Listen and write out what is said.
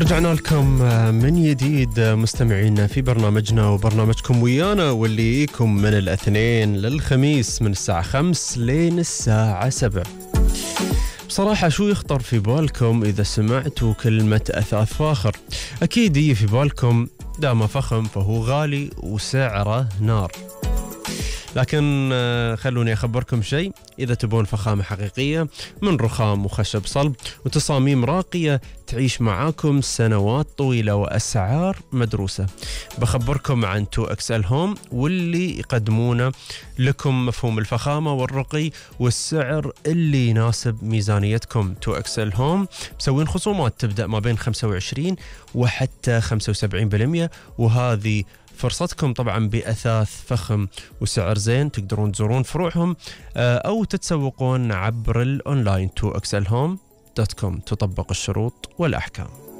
رجعنا لكم من جديد مستمعينا في برنامجنا وبرنامجكم ويانا، واللي يجيكم من الاثنين للخميس من الساعة 5 لين الساعة 7. بصراحة شو يخطر في بالكم إذا سمعتوا كلمة أثاث فاخر؟ أكيد يجي في بالكم دام فخم فهو غالي وسعره نار. لكن خلوني أخبركم شيء، إذا تبون فخامة حقيقية من رخام وخشب صلب وتصاميم راقية تعيش معاكم سنوات طويلة وأسعار مدروسة، بخبركم عن 2XL Home واللي يقدمونه لكم مفهوم الفخامة والرقي والسعر اللي يناسب ميزانيتكم. 2XL Home مسوين خصومات تبدأ ما بين 25 وحتى 75%، وهذه فرصتكم طبعا بأثاث فخم وسعر زين. تقدرون تزورون فروعهم أو تتسوقون عبر الأونلاين 2xlhome.com. تطبق الشروط والأحكام.